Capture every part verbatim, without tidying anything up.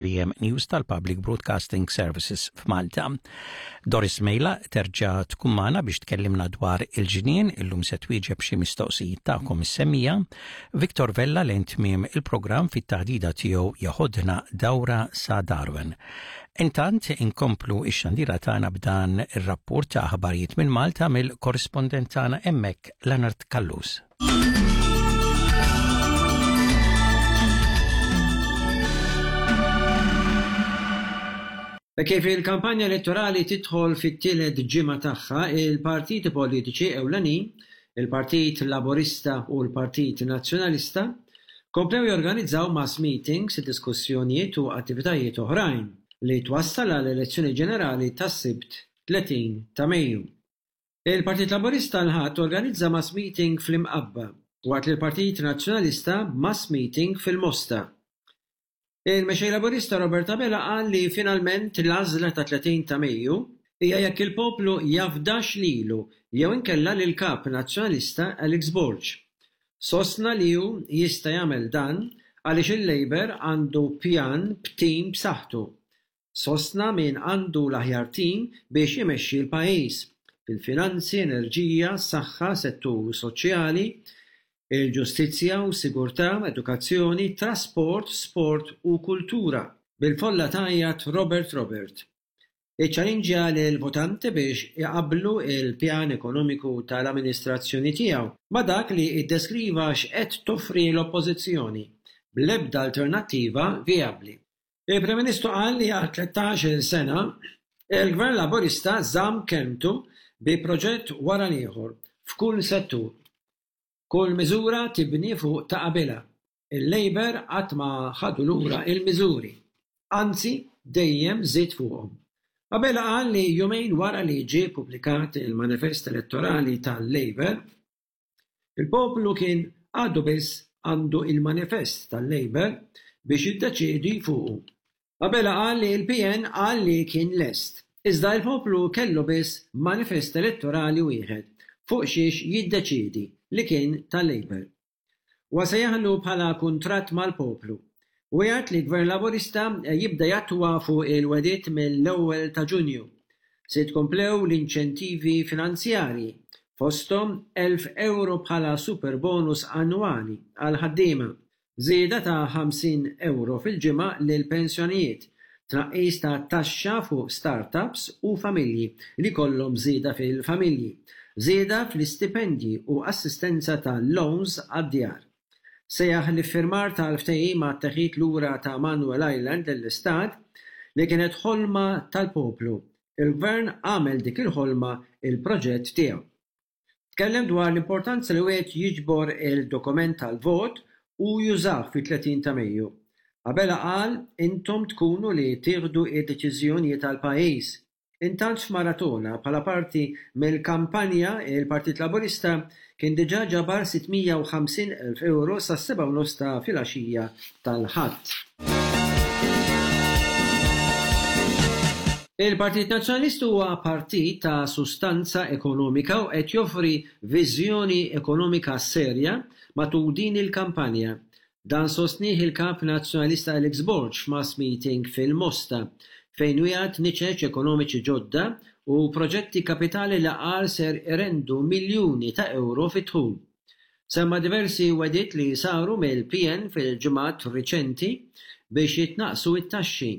T V M News tal-Public Broadcasting Services f'Malta. Doris Mejla terġa' tkun magħna biex tkellimna dwar il-ġnien, illum se twieġeb xi mistoqsijiet tagħkom is-semmiegħa. Victor Vella lejn tmiem il-programm fit-taħdida tiegħu jeħodna dawra sa Darwin. Intant inkomplu ix-xandira tagħna b'dan ir-rapport ta' aħbarijiet minn Malta mill-korrispondent tagħna hemmhekk, Leonard Callus. Kif il-kampanja elettorali tidħol fit-tielet ġimgħa tagħha, il-partiti politiċi ewlenin, il-Partit Laburista u l-Partit Nazzjonalista, komplew jorganizzaw mass meetings, diskussjonijiet u attivitajiet oħrajn li twassal għal elezzjoni ġenerali tas-Sibt tletin ta' Mejju. Il-Partit Laburista l-Ħadd organizza mass meeting fl-Imqabba, waqt li l-Partit Nazzjonalista mass meeting fil-Mosta. Il-Mexxej Laburista Robert Abela qal li finalment l-għażla ta' tletin ta' Mejju hija jekk il-poplu jafdax lilu jew inkella lil kap Nazzjonalista Alex Borg. Sostna li hu jista' jagħmel dan għaliex il-Labour għandu pjan b'tim b'saħħtu. Sostna min għandu l-aħjar tim biex imexxi l-pajjiż fil-finanzi, enerġija, saħħa, settur soċjali, il-ġustizzja u sigurtà, edukazzjoni, trasport, sport u kultura. Bil-folla tgħajjat "Robert Robert". Iċċallinġja lill-votanti biex iqabblu il-pjan ekonomiku tal-amministrazzjoni tiegħu ma' dak li iddeskriva x'qed toffri l-Oppożizzjoni, bl-ebda alternattiva vijabbli. Il-Prim Ministru qal li għal tlettax-il sena il-Gvern Laburista żamm kelmtu bi proġett wara l-ieħor f'kull settur. Kull miżura tibni fuq ta' qabilha. Il-Labour qatt ma ħadu lura il-miżuri. Anzi, dejjem żied fuqhom. Abela qal li jumejn wara li ġie ppubblikat il-manifest elettorali tal-Labour, il-poplu kien għadu biss għandu il-manifest tal-Labour biex jiddeċiedi fuqu. Abela qal li l-P N qal li kien lest, iżda il-poplu kellu biss manifest elettorali wieħed fuq xiex jiddeċiedi, li kien tal-Labour. Huwa sejjaħlu bħala kuntratt mal-poplu. U jgħid li Gvern Laburista jibda jattwa fuq il-wegħdiet mill-ewwel ta' Ġunju. Se jitkomplew l-inċentivi finanzjarji, fosthom elf euro bħala super bonus annwali għal ħaddiema, żieda ta' ħamsin euro fil-ġimgħa lil pensjonijiet, tnaqqis ta' taxxa fuq startups u familji li kollhom żieda fil-familji, żieda fl-istipendji u assistenza ta' loans għad-djar. Sejjaħ l-iffirmar tal-ftehim għat-teħid lura ta' Manuel Island lill-Istat li kienet ħolma tal-poplu. Il-Gvern għamel dik il-ħolma il-proġett tiegħu. Tkellem dwar l-importanza li wieħed jiġbor il-dokument tal-vot u jużah fit-tletin ta' Mejju. Abela qal: "Intom tkunu li tieħdu id-deċiżjonijiet tal-pajjiż." Intant f'maratona bħala parti mill-kampanja, il-Partit Laburista kien diġà ġabar sitt mija u ħamsin elf euro sas-sebgħa u nofs ta' filgħaxija tal-Ħadd. Il-Partit Nazzjonalista huwa partit ta' sustanza ekonomika u qed joffri viżjoni ekonomika serja matul din il-kampanja. Dan sostnieh il-kap Nazzjonalista Alex Borg f'mass meeting fil-Mosta, fejn wiegħed niċeċ ekonomiċi ġodda u proġetti kapitali li qal ser irendu miljuni ta' euro fit-dħul. Semma diversi wegħdiet li saru mill-P N fil-ġimgħat riċenti biex jitnaqsu it-taxxi,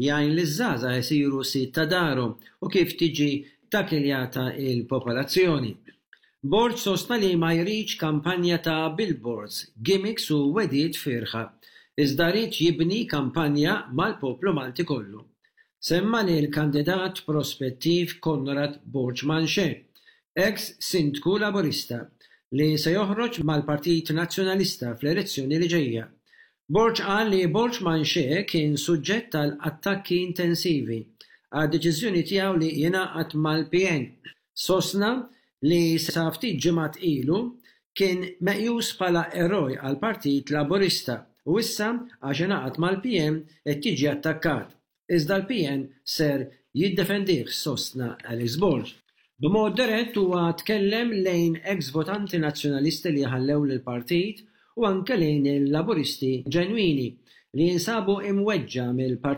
jgħin liż-żgħażagħ isiru sid ta' darhom u kif tiġi takiljata il-popolazzjoni. Borg sostna li ma jridx kampanja ta' billboards, gimmicks u wegħdiet fiergħa, iżda jrid jibni kampanja mal-poplu Malti kollu. Semma li l-kandidat prospettiv Konrad Borg Manché, ex sindku Laburista, li se joħroġ mal-Partit Nazzjonalista fl-elezzjoni li ġejja. Borg qal li Borg Manché kien suġġett tal attakki intensivi għad deċiżjoni tiegħu li jingħaqad mal-P N. Sostna li sa ftit ġimgħat ilu kien meqjus bħala eroj għal Partit Laburista u issa għax ingħaqad mal-P N qed jiġi attakkat. Iżda l-P N ser jiddefendih, sostna Alex Borg. B'mod dirett huwa tkellem lejn ex-votanti nazzjonalisti li ħallew lill-partit u anke lejn il-Laburisti ġenwini. li jinsabu imweġġa' mill-Partit.